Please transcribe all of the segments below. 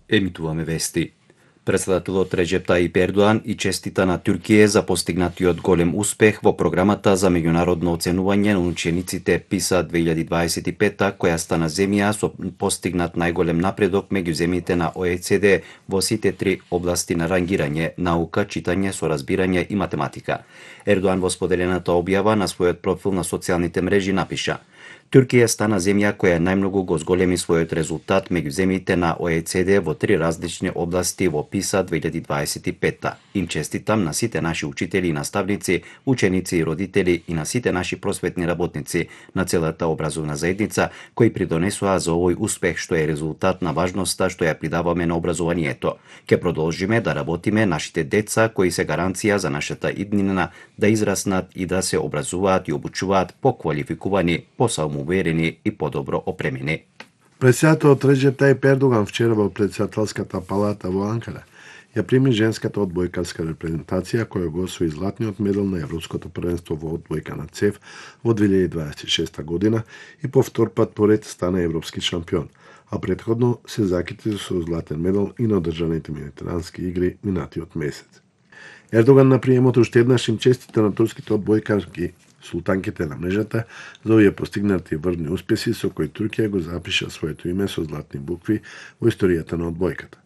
Емитуваме вести. Председателот Реджеп Тајип Ердоан и честита на Туркија за постигнатиот голем успех во програмата за меѓународно оценување на учениците PISA 2025, која стана земја со постигнат најголем напредок меѓу земјите на ОЕЦД во сите три области на рангирање: наука, читање, соразбирање и математика. Ердоан во споделената објава на својот профил на социјалните мрежи напиша: Туркија стана земја која најмногу го зголеми својот резултат меѓу земјите на ОЕЦД во три различни области во PISA 2025. Им честитам на сите наши учители и наставници, ученици и родители и на сите наши просветни работници, на целата образовна заедница кои придонесоа за овој успех што е резултат на важноста што ја придаваме на образованието. Ке продолжиме да работиме нашите деца кои се гаранција за нашата иднина да израснат и да се образуваат и обучуваат поквалификувани, посамоуверени и подобро опремени. Председателот Реджеп Тајип Ердоган вчера во председателската палата во Анкара ја прими женската одбојкарска репрезентација која го освои златниот медал на Европското првенство во одбојка на ЦЕФ во 2026 година и по втор пат поред стана европски шампион, а претходно се закити со златен медал и на одржаните медитерански игри минатиот месец. Ердоган на приемот уште еднаш им честита на турските одбојкарки султанките на мрежата за овие постигнати врвни успеси со кои Туркија го запиша своето име со златни букви во историјата на одбојката.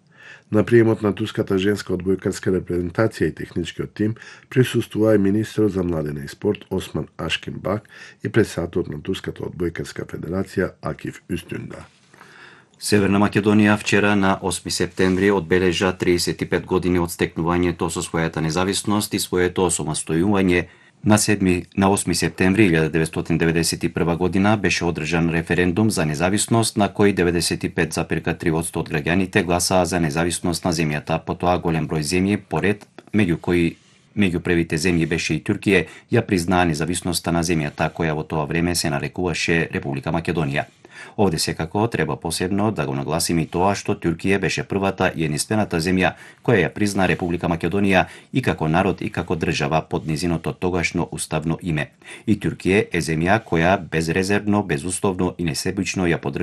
На приемот на турската женска одбојкарска репрезентација и техничкиот тим присуствува и министерот за младина и спорт Осман Ашкинбак и председателот на турската одбојкарска федерација Акиф Үстүнда. Северна Македонија вчера на 8 септември одбележа 35 години од стекнувањето со својата независност и своето осамостојување. На 8 септември 1991 година беше одржан референдум за независност на кој 95,3% од граѓаните гласаа за независност на земјата. Потоа голем број земји, поред меѓу кои меѓу првите земји беше и Туркија, ја признаа независноста на земјата која во тоа време се нарекуваше Република Македонија. Овде секако треба посебно да го нагласиме и тоа што Туркија беше првата и единствената земја која ја призна Република Македонија и како народ и како држава под низиното тогашно уставно име. И Туркија е земја која безрезервно, безусловно и несебично ја поддржува